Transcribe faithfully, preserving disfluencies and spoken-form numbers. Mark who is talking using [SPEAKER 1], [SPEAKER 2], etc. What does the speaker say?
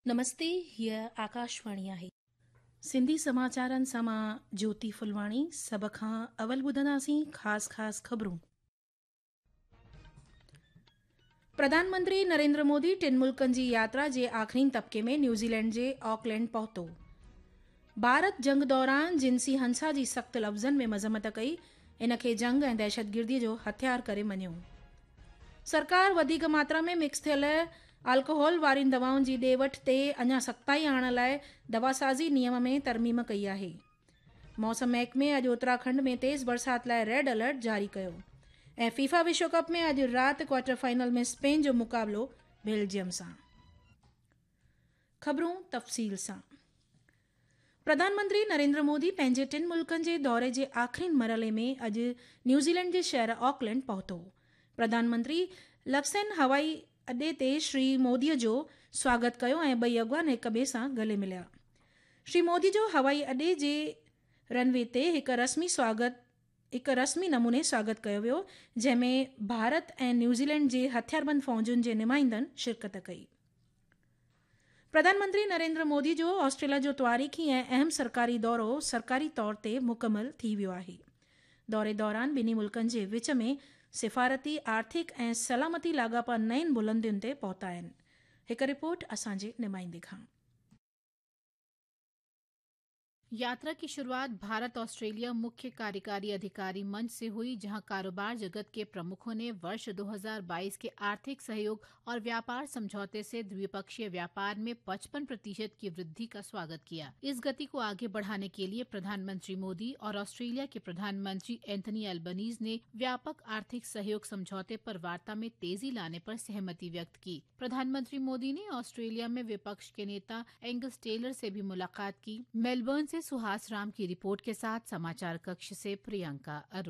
[SPEAKER 1] نمستي، هيءَ آڪاشواڻي آهي. سنڌي سماچارن سان مان جيوتي ڦلواڻي. سڀ کان اول ٻڌنداسين خاص خاص خبرون. پرڌان منتري نريندر مودي ٽن ملڪن جي ياترا جي آخرين طبقي ۾ نيوزيلينڊ جي آڪلينڊ پهتو. ڀارت جنگ دوران جنسي هنسا جي سخت لفظن ۾ مذمت ڪئي، ان کي جنگ ۽ دهشتگردي جو هٿيار ڪري مڃيو. سرڪار وڌيڪ ماترا ۾ مڪس ٿيل الڪوهول وارين دوائن جي ڏي وٺ تي اڃا سختائي آڻڻ لاءِ دواسازي نيم ۾ ترميم ڪئي آهي. موسم محڪمي اڄ اتراکنڊ ۾ تيز برسات لاءِ ريڊ الرٽ جاري ڪيو. ۽ فيفا وشو ڪپ ۾ اڄ رات ڪوارٽر فائنل ۾ اسپين جو مقابلو بيلجيم سان. خبرون تفصيل سان. پرڌان منتري نريندر مودي پنهنجي ٽن ملڪن جي دوري جي آخرين مرحلي ۾ اڄ نيوزيلينڊ جي شهر آڪلينڊ پهتو. پرڌان منتري لڪسن هوائي اڏي تي شري مودي جو سواگت ڪيو ۽ ٻئي اڳواڻ هڪ ٻئي سان گلي مليا. شري مودي جو هوائي اڏي جي رن وي تي هڪ رسمي سواگت هڪ رسمي نموني سواگت ڪيو ويو، جنهن ۾ ڀارت ۽ نيوزيلينڊ جي هٿياربند فوجن جي نمائندن شرڪت ڪئي. پرڌان منتري نريندر مودي جو آسٽريليا جو تواريخي ۽ اهم سرڪاري دورو سرڪاري طور تي مڪمل ٿي ويو آهي. دوري دوران ٻنهي ملڪن جي وچ ۾ سفارتي، آرٿڪ ۽ سلامتي لاڳاپا نين بلندين تي پهتا آهن. هڪ رپورٽ اسان جي نمائندي کان.
[SPEAKER 2] यात्रा की शुरुआत भारत ऑस्ट्रेलिया मुख्य कार्यकारी अधिकारी मंच से हुई, जहां कारोबार जगत के प्रमुखों ने वर्ष दो हज़ार बाईस के आर्थिक सहयोग और व्यापार समझौते से द्विपक्षीय व्यापार में पचपन प्रतिशत की वृद्धि का स्वागत किया। इस गति को आगे बढ़ाने के लिए प्रधानमंत्री मोदी और ऑस्ट्रेलिया के प्रधानमंत्री एंथनी अल्बनीज ने व्यापक आर्थिक सहयोग समझौते पर वार्ता में तेजी लाने पर सहमति व्यक्त की। प्रधानमंत्री मोदी ने ऑस्ट्रेलिया में विपक्ष के नेता एंगस टेलर से भी मुलाकात की। मेलबर्न से सुहास राम की रिपोर्ट के साथ समाचार कक्ष से प्रियंका अरोड़ा।